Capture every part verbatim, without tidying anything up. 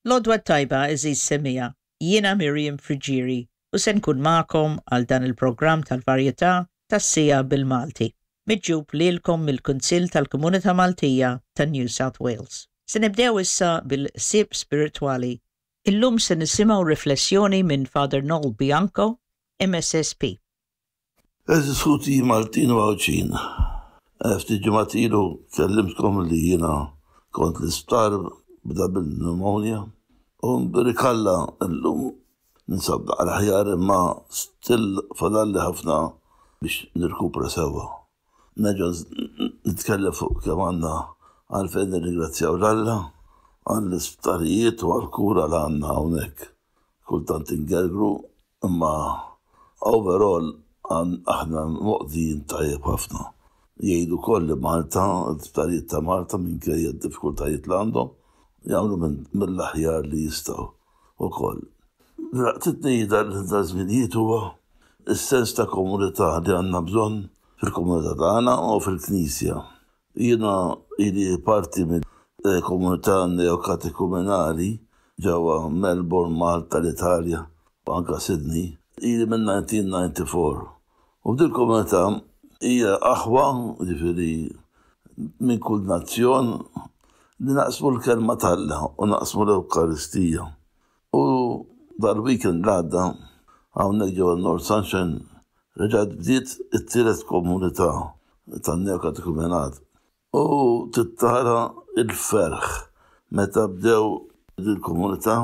L-għodwa t-tajba, għeżież semmiegħa, jiena Miriam Friggieri u se nkun magħkom għal dan il-programm tal-varjetà tas-siegħa bil-Malti, miġjub lilkom mill-Kunsill tal-Komunità Maltija ta' New South Wales. Se nibdew issa bil-ħsieb spiritwali. Illum se nisimgħu riflessjoni minn Father Noel Bianco, M S S P. Għeżież ħuti Maltin u Għawdxin, ftit ġimgħat ilu kellimtkom li jiena kont l-isptar b'double pneumonia u nbierek Alla, llum ninsab naqra aħjar, imma still fadalli ħafna biex nirkupra sewwa. Nerġa' nitkellem fuq kemm għandna għalfejn nirringrazzjaw 'l Alla għall-isptarijiet u għall-kura li għandna hawnhekk. Kultant ingergru, imma overall aħna moqdijin tajjeb ħafna. Jgħidu koll li Malta, l-isptarijiet ta' Malta, minkejja d-diffikultajiet li għandhom, jagħmlu mill-aħjar li jistgħu ukoll. Laqtitni dal-żminijiet huwa is-sens ta' komunità li għandna bżonn fil-komunità tagħna u fil-Knisja. Jiena ili parti minn komunità neokatekumenali ġewwa Melbourne, Malta, l-Italja u anka Sydney, ili minn elf disa' mija u disgħa u disgħin. U f'dil komunità hija aħwa, ġifieri minn kull nazzjon, li naqsmu l-kelma t'Alla u naqsmu l-Ewkaristija. U dal-weekend l-għadda hawnhekk ġewwa North Sunshine reġgħet bdiet it-tielet komunità tan-neokatekumenat. U tara il-ferħ meta bdew dil-komunità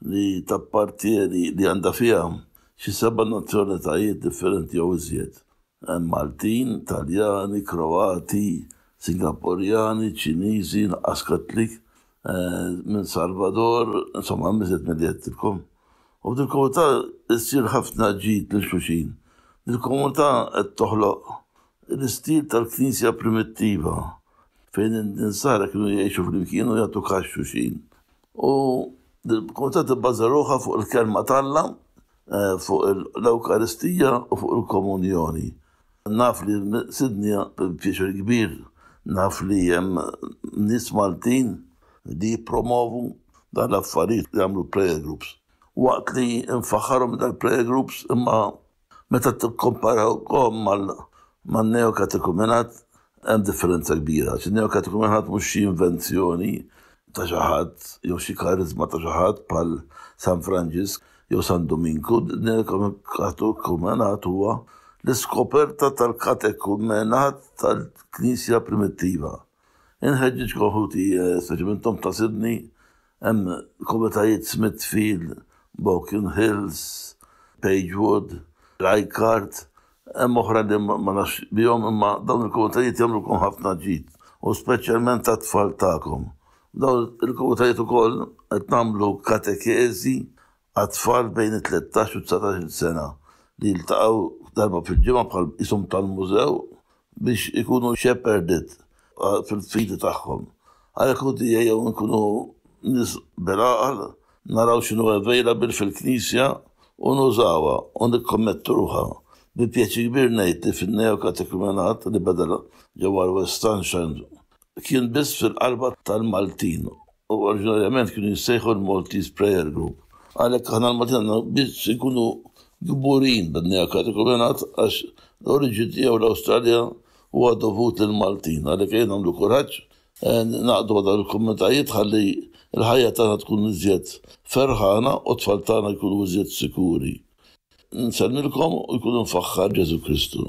li tappartieni, li għandha fiha xi seba' nazzjonalitajiet differenti jew iżjed. Maltin, Taljani, Kroati, Singapurjani, Ċiniżi, naqas Kattlik, eh, minn Salvador, insomma, iżjed milli għedtilkom. U dil-komunità issir ħafna ġid lil xulxin. Dil-komunità qed toħloq l-istil tal-Knisja primittiva fejn l-insara kienu jgħixu flimkien u jagħtu kas xulxin. U dil-komunità tibbaża ruħha fuq il-kelma t'Alla, eh, fuq l-Ewkaristija u fuq il-komunjoni. Naf li Sydney, pjaċir kbir, naf li hemm nies Maltin li jippromovu dan l-affarijiet, li jagħmlu prayer groups. Waqt li nfaħħarhom dal-prayer groups, imma meta tikkomparawhom mal-neokatekumenat hemm differenza kbira. Il-neokatekumenat mhux xi invenzjoni ta' xi ħadd jew xi karizma ta' xi ħadd bħal San Franġisk jew San Dominku. Neokatekumenat huwa l-iskoperta tal-katekumenat tal-Knisja primittiva. Inħeġġiġkom, ħuti, eh, speċjalment ta' Sydney, hemm komunitajiet Smithfield, Baulkham Hills, Pagewood, Leichhardt, hemm oħra li ma nafx bihom, imma dawn il-komunitajiet jagħmlukom ħafna ġid u speċjalment tat-tfal tagħkom. Dawn il-komunitajiet ukoll qed nagħmlu katekeżi għat-tfal bejn it-tlettax u dsatax-il sena li jiltaqgħu darba fil-ġimgħa bħal isom tal-mużew biex ikunu shepherded fil-fidi tagħhom. Għalhekk, ħuti, ejjew nkunu nies bil-għaqal, naraw x'inhu available fil-Knisja u nużawha u nikkommettu ruħna. Bi pjaċir kbir ngħid li fin-neokatekumenat li beda ġewwa West Sunshine kien biss fil-qalba tal-Maltin u oriġinarjament kienu jissejħu l-Maltese Prayer Group. Għalhekk aħna l-Maltin għandna biss ikunu kburin bin-neokatekumenat għax l-oriġini tiegħu l-Awstralja huwa dovut lill-Maltin. Għalhekk ejja nagħmlu kuraġġ, ningħaqdu dawn il-komunitajiet ħalli il-ħajja tagħna tkun iżjed ferħana u t-tfal tagħna jkunu iżjed sikuri. Nsellmilkom u jkun imfaħħar Ġesu Kristu.